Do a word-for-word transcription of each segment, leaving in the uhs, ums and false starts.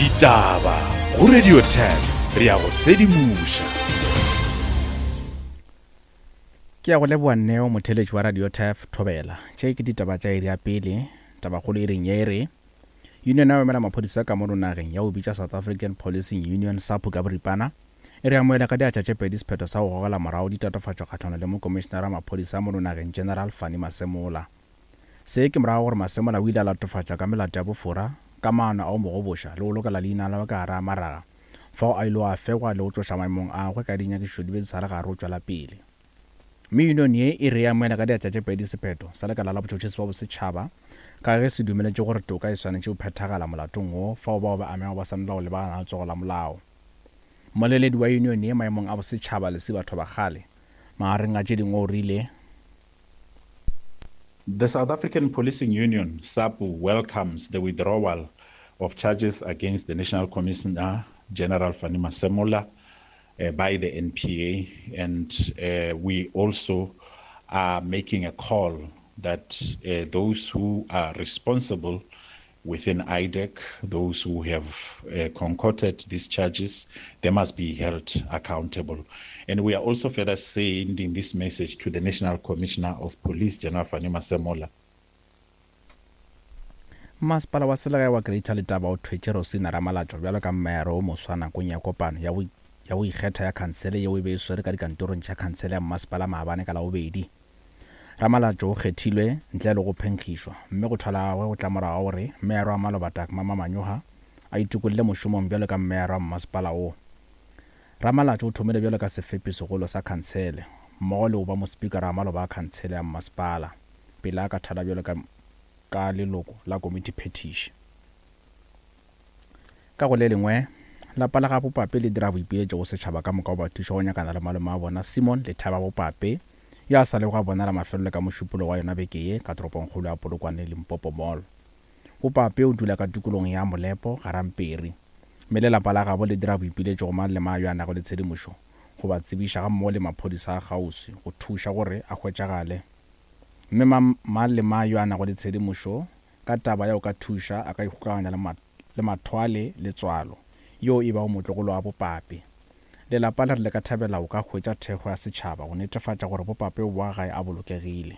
Ditaba go Radio Turf, re ya go sedimoša. Ke ya go leboa Neo, motheletši wa Radio Turf Thobela. Tše ke ditaba tša iri ya pele. Tabakgolo e reng ye e re Union ya go emela maphodisa ka mono nageng ya go bitša South African Policing Union SAPU ka boripana e re amohela ka diatla tše pedi sephetho sa go gogela morago ditatofatšo kgahlano le mokomišenara wa maphodisa mono nageng General Fannie Masemola. Se ke morago gore Masemola o ile a latofatša ka melato ya bofora ka maano a go mo goboša le go lokela leina la ka gare a maraga fao a ile a fegwa le go tloša maemong a gagwe ka dinyakišišo di be di sa le gare go tšwela pele. Mme union ye e re amohela ka diatla tše pedi sephetho sa lekala la botšhotšhisi ba bosetšhaba ka ge se dumeletše gore toka e swanetše go phethagala molatong wo fao bao ba amegago ba swanela go lebagana le letsogo la molao. Mmoleledi wa union ye maemong a bosetšhaba Lesiba Thobakgale magareng a tše dingwe o rile The South African Policing Union, SAPU, welcomes the withdrawal of charges against the National Commissioner, General Fannie Masemola, uh, by the N P A. And, uh, we also are making a call that, uh, those who are responsible within I D E C, those who have, uh, concocted these charges, they must be held accountable. And we are also further sending this message to the National Commissioner of Police, General Fannie Masemola. Masepala wa selegae wa Greater Letaba o thwetše Rosina Ramalatšo bjalo ka mmayara o moswa nakong ya kopano ya go, ya go ikgetha ya khansele yeo e be e swere ka dikantorong tša khansele ya mmasepala maabane ka Labobedi. Ramalatšo o kgethilwe ntle le go phenkgišwa, mme go thwala gagwe go tla morago gore meyara wa maloba Dagmar Manyoha a itokolle mošomong bjalo ka meyara wa mmasepala wo. Ramalatšo o thomile bjalo ka sefepi segolo sa khansele mmogo le go ba mospikara wa maloba a khansele ya mmasepala pele a ka thala bjalo ka, ka leloko la komiti phetiši. Ka go le lengwe, lapa la ga Bopape le dira boipiletšo go setšhaba ka moka go ba thuša go nyakana le malome a bona Simon Lethaba Bopape yo a sa lego a bonala mafelelo ka mošupologo wa yona beke ye ka toropongkgolo ya Polokwane Limpopo Mall. Bopape o dula ka tikologong ya Molepo Garamperi, mme le lapa la gabo le dira boipiletšo go mang le mang yo a nago le tshedimošo go ba tsebiša gammogo le maphodisa a kgauswi go thuša gore a hwetšagale. Mme mang le mang yo a nago le tshedimošo ka taba ya go ka thuša a ka ikgokaganya le ma-, le Mathwale Letswalo yo e bago motlogolo wa Bopape. Lelapa le re le ka thabela go ka hwetša thekgo ya setšhaba go netefatša gore Bopape o boa gae a bolokegile.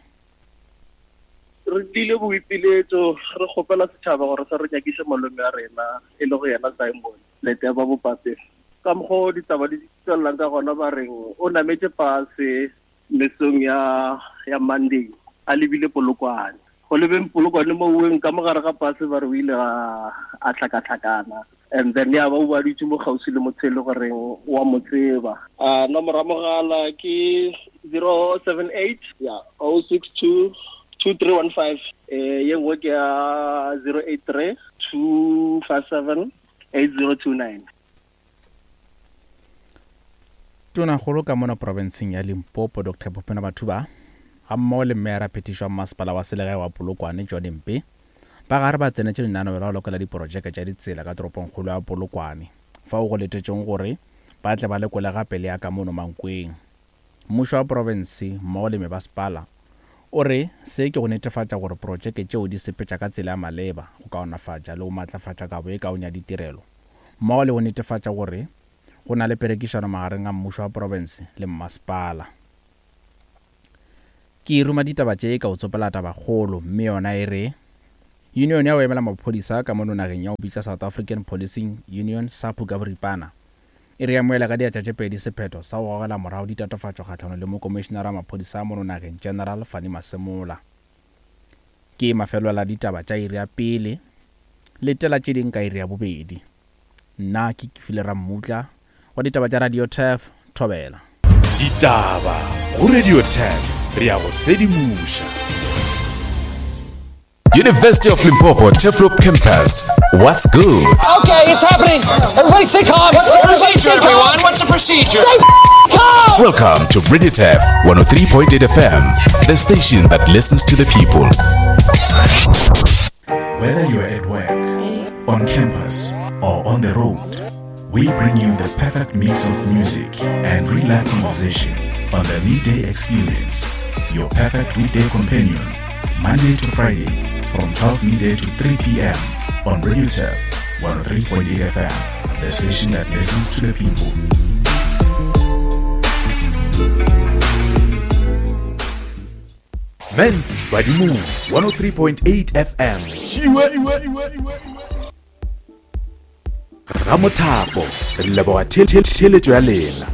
Re tlile boipiletšo re kgopela setšhaba gore se re nyakiše malome a rena e le go yena Simon Leteba Bopape. Ka mokgwa o ditaba di tswelelang ka gona ba reng o nametše pase mesong ya, ya Monday a lebile Polokwane. Go lebeng Polokwane mo oweng ka mogare ga pase ba re o ile a, a tlhakatlhakana. And then ya ba o ba dutše mo kgauswi le motho e le goreng wa mo tseba. Ah, nomoro ya mogala ke zero seven eight, yeah, oh six two, two three one five. Eh, ye nngwe ke ya zero eight three, two five seven, eight zero two nine. Tonakgolo ka mona profenseng ya Limpopo Doctor Phopena Matuba gammogo le meyara phetišo wa mmasepala wa selegae wa Polokwane John Mpe ba gare ba tsenetše lenaneo la go lokela diprojeke tša ditsela ka toropongkgolo ya Polokwane fao go letetšeng gore ba tle ba lekole gape le ya ka mono Mankweng. Mmušo wa profense mmogo le mebasepala o re se ke go netefatša gore projeke tšeo di sepetša ka tsela ya maleba go kaonafatša le go matlafatša kabo e kaone ya ditirelo mmogo le go netefatša gore go na le perekišano magareng a mmušo wa profense le mmasepala. Ke ruma ditaba tše ka o tsopela tabakgolo, mme yona e re Union ya go emela maphodisa ka mono nageng ya go bitša South African Policing Union SAPU ka boripana e re amohela ka diatla tše pedi sephetho sa go gogela morago ditatofatšo kgahlano le mokomišenara wa maphodisa a mono nageng General Fannie Masemola. Ke mafelelo la ditaba tša iri ya pele, letela tše ding ka iri ya bobedi. Nna ke Kefile Rammutla wa ditaba tša Radio Turf Thobela. Ditaba go Radio Turf, re ya go sedimoša. University of Limpopo Turfloop Campus. What's good? Okay, it's happening. Everybody stay calm. What's the Everybody procedure, stay calm. everyone? What's the procedure? Stay calm. Welcome to Radio Turf one oh three point eight F M, the station that listens to the people. Whether you're at work, on campus, or on the road, we bring you the perfect mix of music and real-life conversation on the Midday Experience, your perfect weekday companion, Monday to Friday from twelve midday to three P M on Radio Turf one oh three point eight F M, the station that listens to the people. Mens Badimong, one oh three point eight F M. Ramothapo, re leboga theeletšo ya lena.